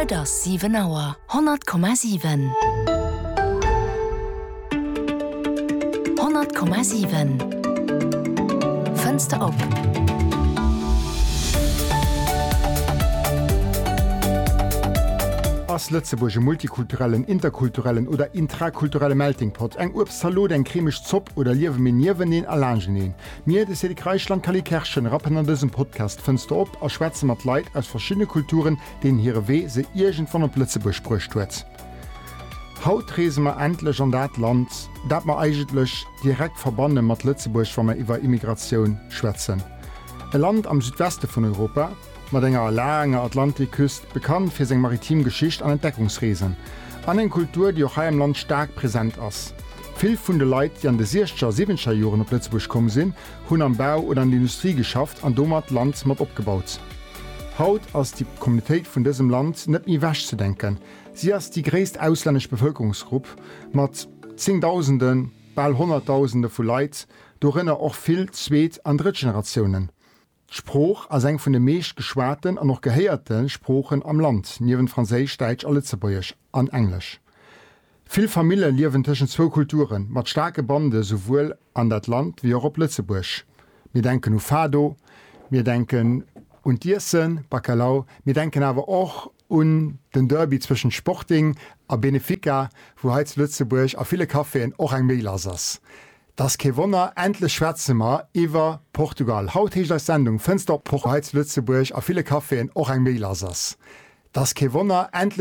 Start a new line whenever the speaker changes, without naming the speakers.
Et ass 7 Auer. 100,7. 100,7 Fënster op.
Ass Lëtzebuerg e multikulturellen, interkulturellen oder intrakulturelle Melting Pot, eng Uebstzalot, eng cremeg Zopp oder liewe mir nieweneen a laanschteneen? Mir, de Cédric Reichel an d'Cally Kerschen, rappen an dësem Podcast d'Fënster op a schwätze mat Leit aus verschiddene Kulturen, deenen hire Wee se iergendwann op Lëtzebuerg bruecht huet. Haut reese mer endlech an dat Land, dat mer eigentlech direkt verbanne mat Lëtzebuerg, wa mer iwwer Immigratioun schwätzen. E Land am Südweste vun Europa, mat enger laanger Atlantikküst, bekannt fir seng maritim Geschicht an Entdeckungsreesen, an eng Kultur, déi och hei am Land staark present ass. Vill vun de Leit, déi an de siechzeger a siwwenzeger Joren op Lëtzebuerg komm sinn, hunn am Bau oder an der Industrie geschafft an domat d'Land mat opgebaut. Haut ass déi Communautéit vun dësem Land net méi ewechzedenken. Si ass déi gréisst auslännesch Bevëlkerungsgrupp mat Zéngdausenden, bal Honnertdausende vu Leit, dorënner och vill Zweet an Drëttgeneratiounen. D'Sprooch ass eng vun de meescht geschwaten an och gehéierte Sproochen am Land, niewent Franséisch, Däitsch a Lëtzebuergesch an Englesch. Vill Famille liewen tëschent zwou Kulturen, mat staarke Bande souwuel an dat Land wéi och op Lëtzebuerg. Mir denken u Fado, mir denken un d'Iessen, Bacalhau, mir denken awer och un den Derby zwëschent Sporting a Benefica, wou hei zu Lëtzebuerg a ville Caféen och eng Méi lass ass. 't ass kee Wonner, endlech schwätze mer iwwer Portugal. Haut heescht eis Sendung Fënster op hei zu Lëtzebuerg a ville Caféen och eng Méi lass ass. 't ass kee Wonner, endlech.